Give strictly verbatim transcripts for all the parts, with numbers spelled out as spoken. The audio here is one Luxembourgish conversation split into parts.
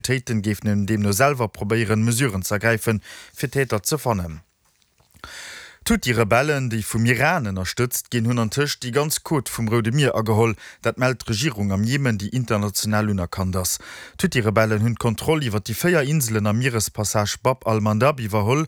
D'Autoritéiten géifen deemno selwer probéieren, Mesuren ze ergräifen, fir d'Täter ze fannen. D'Huthi-Rebellen, déi vum Iran ënnerstëtzt ginn, hunn antëscht déi ganz Côte vum Roude Mier ageholl. Dat mellt d'Regierung am Jemen, déi international unerkannt ass. D'Huthi-Rebellen hunn d'Kontroll iwwer déi véier Inselen am Mierespassage Bab al-Mandab iwwerholl.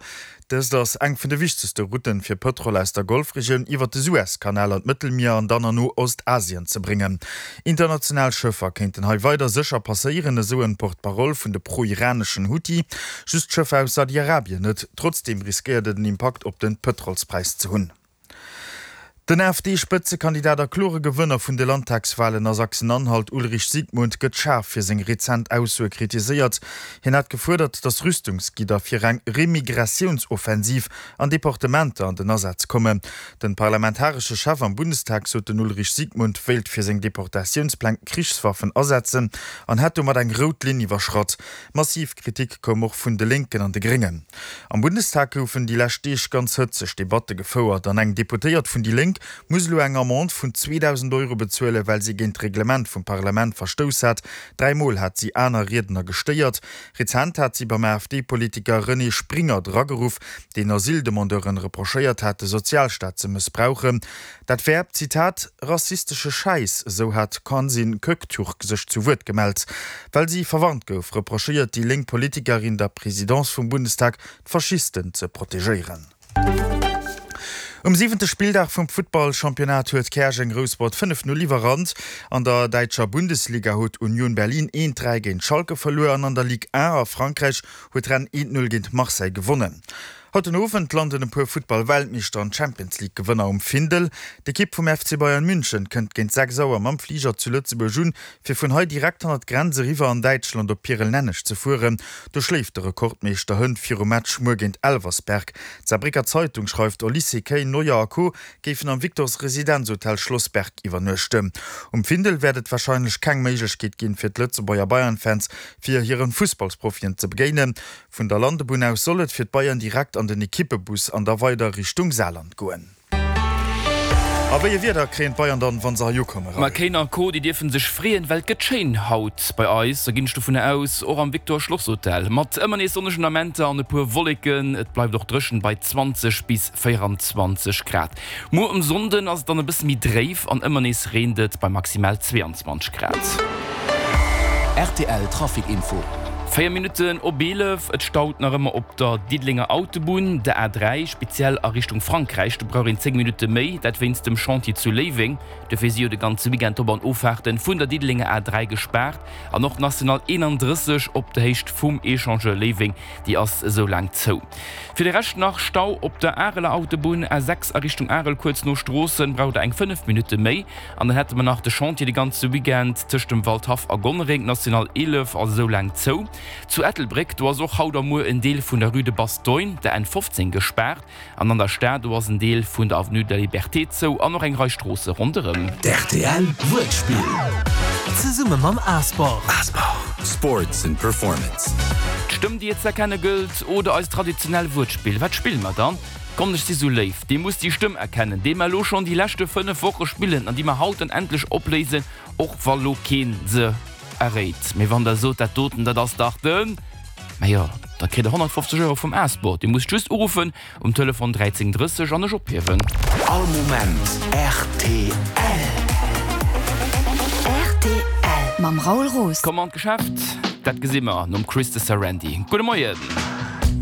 Dëst ass eng vun de wichtegste Routen, fir Pëtrol aus der Golfregioun iwwer de Suezkanal an d'Mëttelmier an dann an No-Ostasien ze bréngen. International Schëffer kéinten hei weider sécher passéieren, esou en Porte-parole vun de pro-iraneschen Huthi. Just d'Schëffer aus Saudi-Arabien net. Trotzdeem riskéiert et en Impakt op de Pëtrolspräis ze hunn. Den AfD-Spëtzekandidat a klore Gewënner vun de Landtagswalen a Sachsen-Anhalt, Ulrich Siegmund, gëtt schaarf fir seng rezent Aussoe kritiséiert. Hien hat gefuerdert, datt Rüstungsgidder fir eng Remigratiouns-Offensiv an Deportementer an den Asaz kommen. Den parlamentaresche Chef am Bundestag sot, den Ulrich Siegmund wéilt fir seng Deportatiounspläng Krichswaffen asetzen an hätt domat eng rout Linn iwwerschratt. Massiv Kritik koum och vun de Lénken an de Gréngen. Am Bundestag goufen déi lescht Deeg ganz hëtzeg Debatte gefouert an eng Deputéiert vun déi Lénk muss elo eng Amende vun zweedausend Euro bezuelen, well si géint d'Reglement vum Parlament verstouss hat. Dräi Mol hat si aner Riedner gestéiert. Rezent hat si beim AfD-Politiker René Springert erageruff, deen Asyldemandeuren reprochéiert hat, de Sozialstaat ze mëssbrauchen. Dat wär, Zitat, rassistesche Schäiss, esou hat d'Cansine Köktürk sech zu Wuert gemellt. Well si verwarnt gouf, reprochéiert déi lénk Politikerin der Presidence vum Bundestag, d'Faschisten ze protegéieren. Um siwente Spilldag vum Futtball-Championnat huet Käerjeng Rouspert fënnef Null iwwerrannt. An der däitscher Bundesliga huet Union Berlin eent dräi géint Schalke verluer an an der Ligue un a Frankräich huet Rennes eent Null géint Marseille gewonnen. Haut den Owend landen e puer Futtball-Weltmeeschter an Champions-League-Gewënner um Findel. D'Ekipp vum F C Bayern München kënnt géint sechs Auer mam Fliger zu Lëtzebuerg un, fir vun hei direkt hannert d'Grenz eriwwer an Däitschland op Pirel-Nenneg ze fueren. Do schléift de Rekordmeeschter hënt virum Match muer géint Elversberg. D'Saarbrécker Zeitung schreift, Olise, Kane, Neuer a Co. Géifen am Victors Residenzhotel Schlossberg iwwernuechten. Um Findel wäert et warscheinlech keng Méiglechkeet ginn, fir d'Lëtzebuerger Bayern-Fans fir hiren Fussballsprofien ze begéinen. Vun der Landebunn aus soll et fir d'Bayern direkt an den Ekippebus an da weider Richtung Saarland goen. A wéi e Wieder kréien d'Bayern dann, wann se hei ukommen, Ma Raoul? Kane a Co, déi dierfen sech freeën, well et gëtt schéin haut bei eis, da ginn ech dovunner aus, och am Victor Schloss Hotel, mat ëmmer nees sonnegen Amenter an e puer Wolleken. Et bleift och dréchen bei zwanzeg bis véierundzwanzeg Grad. Muer um Sonnden ass et dann e bësse méi dréif an ëmmer nees reent et bei maximal zweeanzwanzeg Grad. Rtl Trafic Info. Véier Minutten op eelef, Et staut nach ëmmer op der Diddelenger Autobunn, der A dräi, speziell a Richtung Frankräich. Do brauch een zéng Minutte méi, dat wéinst dem Chantier zu Léiweng. Dofir si jo de ganze Weekend d'Op an Offahrten vun der Diddelenger A dräi gespaart. An och d'National eenandrësseg op der Héicht vum Echangeur Léiweng, déi ass esou laang zou. Fir de Rescht nach Stau op der Areler Autobunn, A sechs a Richtung Arel, kuerz no Stroossen braucht der eng fënnef Minutte méi. An dann hätte mer nach de Chantier de ganze Weekend tëscht dem Waldhaff a Gonnereng, d'National eelef ass esou laang zou. Zu Ettelbréck, do ass och haut a muer en Deel vun der Rue de Bastogne, der N fofzéng, gespaart. An an der Stad, do ass en Deel vun der Avenue de la Liberté zou an och eng Rei Stroosse ronderëm. D'R T L Wuertspill. Zesumme mam A-Sport. Sports and Performance. D'Stëmm déi et z'erkenne gëllt oder eist traditionell Wuertspill. Wat spille mer dann? Kommt ech si sou léif, dir musst déi Stëmm erkennen, déi mer elo schonn déi leschte fënnef Woche spillen an déi mer haut dann endlech opléisen, och wa lo keen se erréit. Mee wann der sot, dat doten, dat ass dach den. Mä jo, da kritt der honnertfofzeg Euro vum A-Sport. Dir musst just uruffen um Telefon dräizéng drësseg an ech ophiewen. All Moment rtl. Rtl mam Raoul Roos. Komm an d'Geschäft, dat gesi mer nom Chris de Sarandy. Gudde Moien.